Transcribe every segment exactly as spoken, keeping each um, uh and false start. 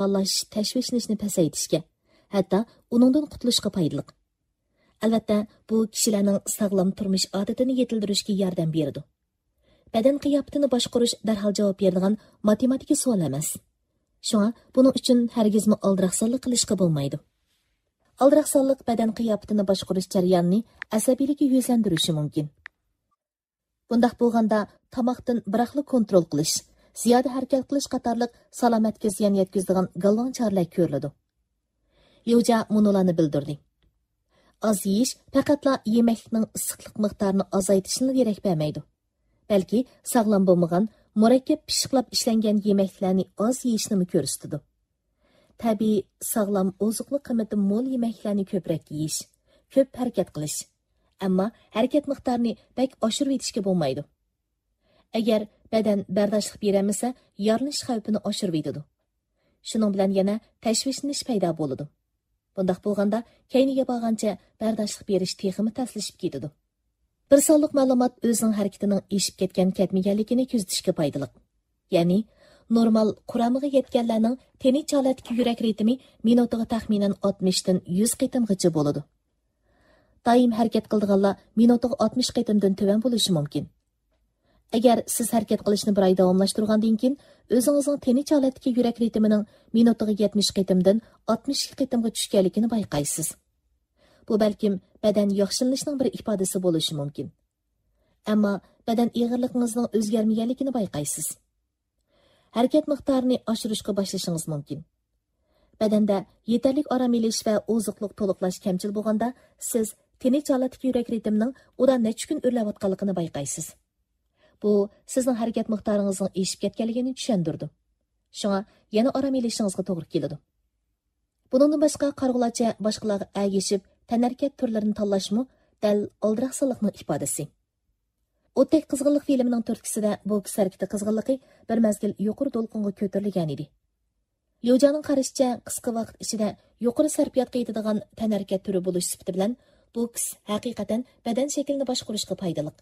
يالغۇزلىنىش، تەشۋىشلىنىشنى پەسەيتىشكە، ھەتتا ئۇنىڭدىن قۇتۇلۇشقا پايدىلىق. ئەلۋەتتە، بۇ كىشىلەرنىڭ ساغلام تۇرمۇش ئادىتىنى يېتىلدۈرۈشكە ياردەم بېرىدۇ. بەدەن قىياپىتىنى باشقۇرۇش دەرھال جاۋاب بېرىدىغان ماتېماتىكا سوئال ئەمەس. شۇڭا بۇنىڭ ئۈچۈن ھەرگىزمۇ ئالدىراقسانلىق قىلىشقا بولمايدۇ. ئالدىراقسانلىق بەدەن قىياپىتىنى باشقۇرۇش جەريانىنى ئەسەبىيلىككە يۈزلەندۈرۈشى مۇمكىن. بۇنداق بولغاندا، تاماقتىن بىراقلا كونترول قىلىش، زىيادە ھەرىكەت قىلىش قاتارلىق سالامەتكە زىيان يەتكۈزىدىغان گالۋاڭ چارىلەر كۆرۈلىدۇ. ليۇجيا مۇنۇلارنى بىلدۈردى: ئاز يېيىش پەقەتلا يېمەكلىكنىڭ ئىسسىقلىق مىقدارىنى ئازايتىشىلا دېرەك بەرمەيدۇ، بەلكى ساغلام بولمىغان، مۇرەككەپ پىششىقلاپ ئىشلەنگەن يېمەكلىكلەرنى ئاز يېيىشنىمۇ كۆرسىتىدۇ. تەبىئىي، ساغلام، ئوزۇقلۇق قىممىتى مول يېمەكلىكلەرنى كۆپرەك يېيىش، كۆپ ھەرىكەت قىلىش. ئەمما ھەرىكەت مىقدارىنى بەك ئاشۇرۇۋېتىشكە بولمايدۇ. ئەگەر بەدەن بەرداشلىق بېرەلمىسە، يارىلىنىش خەۋپىنى ئاشۇرۇۋېتىدۇ. شۇنىڭ بىلەن يەنە تەشۋىشلىنىش پەيدا بولىدۇ. بۇنداق بولغاندا، كەينىگە بارغانچە بەرداشلىق بېرىش تېخىمۇ تەسلىشىپ كېتىدۇ. بىر سانلىق مەلۇمات ئۆزىنىڭ ھەرىكىتىنىڭ ئېشىپ كەتكەن-كەتمىگەنلىكىنى كۆزىتىشكە پايدىلىق. يەنى، نورمال قۇرامىغا يەتكەنلەرنىڭ تىنچ ھالەتتىكى يۈرەك رىتىمى مىنۇتىغا تەخمىنەن ئاتمىشتىن يۈز قېتىمغىچە بولىدۇ. دائىم ھەرىكەت قىلىدىغانلار مىنۇتىغا ئاتمىش قېتىمدىن تۆۋەن بولۇشى مۇمكىن. ئەگەر سىز ھەرىكەت قىلىشنى بىر ئاي داۋاملاشتۇرغاندىن كېيىن، ئۆزىڭىزنىڭ تىنچ ھالەتتىكى يۈرەك رىتىمىنىڭ مىنۇتىغا يەتمىش قېتىمدىن ئاتمىش ئىككى قېتىمغا چۈشكەنلىكىنى بايقايسىز. بۇ بەلكىم بەدەن ياخشىلىنىشنىڭ بىر ئىپادىسى بولۇشى مۇمكىن. ئەمما بەدەن ئېغىرلىقىڭىزنىڭ ئۆزگەرمىگەنلىكىنى بايقايسىز. ھەرىكەت مىقدارىنى ئاشۇرۇشقا باشلىشىڭىز مۇمكىن. بەدەندە يېتەرلىك ئارام ئېلىش ۋە ئوزۇقلۇق تولۇقلاش كەمچىل بولغاندا، سىز تىنچ ھالەتتىكى يۈرەك رىتىمىنىڭ ئۇدا نەچچە كۈن ئۆرلەۋاتقانلىقىنى بايقايسىز. بۇ سىزنىڭ ھەرىكەت مىقدارىڭىزنىڭ ئېشىپ كەتكەنلىكىنى چۈشەندۈرىدۇ. شۇڭا يەنە ئارام ئېلىشىڭىزغا توغرا كېلىدۇ. بۇنىڭدىن باشقا، قارىغۇلارچە باشقىلارغا ئەگىشىپ تەنھەرىكەت تۈرلىرىنى تاللاشمۇ دەل ئالدىراقسانلىقنىڭ ئىپادىسى. ئوتتەك قىزغىنلىق فىلىمىنىڭ تۈرتكىسىدە بوكس ھەرىكىتى قىزغىنلىقى بىر مەزگىل يۇقىرى دولقۇنغا كۆتۈرۈلگەنىدى. ليۇجيانىڭ قارىشىچە، قىسقا ۋاقىت ئىچىدە يۇقىرى سەرپىياتقا يېتىدىغان تەنھەرىكەت تۈرى بولۇش سۈپىتى بىلەن بوكس ھەقىقەتەن بەدەن شەكلىنى باشقۇرۇشقا پايدىلىق.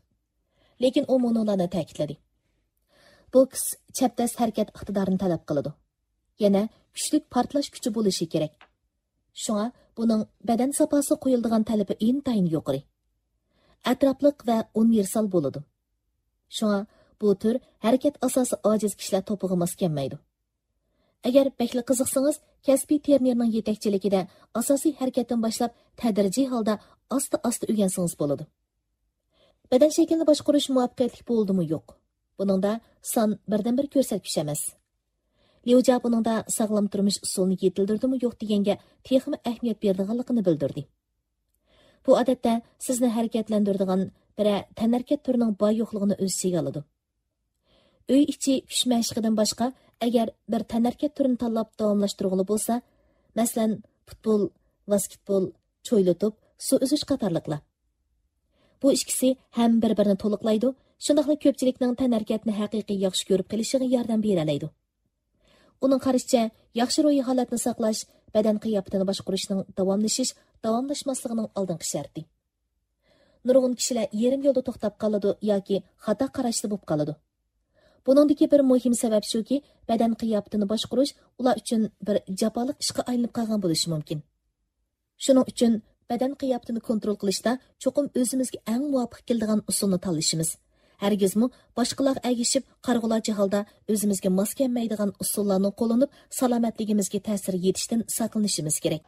لېكىن ئۇ مۇنۇلارنى تەكىتلىدى: بوكس چەبدەس ھەرىكەت ئىقتىدارىنى تەلەپ قىلىدۇ. يەنە كۈچلۈك پارتلاش كۈچى بولۇشى كېرەك. شۇڭا بۇنىڭ بەدەن ساپاسىغا قويۇلىدىغان تەلىپى ئىنتايىن يۇقىرى. ئەتراپلىق ۋە ئۇنىۋېرسال بولىدۇ. شۇڭا بۇ تۈر ھەرىكەت ئاساسى ئاجىز كىشىلەر توپىغا ماس كەلمەيدۇ. ئەگەر بەكلا قىزىقسىڭىز، كەسپىي ترېنېرنىڭ يېتەكچىلىكىدە ئاساسىي ھەرىكەتتىن باشلاپ، تەدرىجىي ھالدا ئاستا-ئاستا ئۆگەنسىڭىز بولىدۇ. بەدەن شەكلىنى باشقۇرۇش مۇۋەپپەقىيەتلىك بولدىمۇ يوق، بۇنىڭدا سان بىردىنبىر كۆرسەتكۈچ ئەمەس. ليۇجيا بۇنىڭدا ساغلام تۇرمۇش ئۇسۇلىنى يېتىلدۈردىمۇ يوق دېگەنگە تېخىمۇ ئەھمىيەت بېرىدىغانلىقىنى بىلدۈردى. بۇ، ئادەتتە، سىزنى ھەرىكەتلەندۈرىدىغان بىرەر تەنھەرىكەت تۈرىنىڭ بار-يوقلۇقىنى ئۆز ئىچىگە ئالىدۇ. ئۆي ئىچى كۈچ مەشىقىدىن باشقا، ئەگەر بىر تەنھەرىكەت تۈرىنى تاللاپ داۋاملاشتۇرغىلى بولسا، مەسىلەن، پۇتبول، ۋاسكېتبول، چويلا توپ، سۇ ئۈزۈش قاتارلىقلار. بۇ ئىككىسى ھەم بىر-بىرىنى تولۇقلايدۇ، شۇنداقلا كۆپچىلىكنىڭ تەنھەرىكەتنى ھەقىقىي ياخشى كۆرۈپ قېلىشىغا ياردەم بېرەلەيدۇ. ئۇنىڭ قارىشىچە، ياخشى روھىي ھالەتنى ساقلاش بەدەن قىياپىتىنى باشقۇرۇشنىڭ داۋاملىشىش، داۋاملاشماسلىقىنىڭ ئالدىنقى شەرتى. نۇرغۇن كىشىلەر يېرىم يولدا توختاپ قالىدۇ ياكى خاتا قاراشتا بولۇپ قالىدۇ. بۇنىڭدىكى بىر مۇھىم سەۋەب شۇكى، بەدەن قىياپىتىنى باشقۇرۇش ئۇلار ئۈچۈن بىر جاپالىق ئىشقا ئايلىنىپ قالغان بولۇشى مۇمكىن. شۇنىڭ ئۈچۈن بەدەن قىياپىتىنى كونترول قىلىشتا چوقۇم ئۆزىمىزگە ئەڭ مۇۋاپىق كېلىدىغان ئۇسۇلنى تاللىشىمىز، ھەرگىزمۇ باشقىلارغا ئەگىشىپ، قارىغۇلارچە ھالدا ئۆزىمىزگە ماس كەلمەيدىغان ئۇسۇللارنى قوللىنىپ، سالامەتلىكىمىزگە تەسىر يېتىشتىن ساقلىنىشىمىز كېرەك.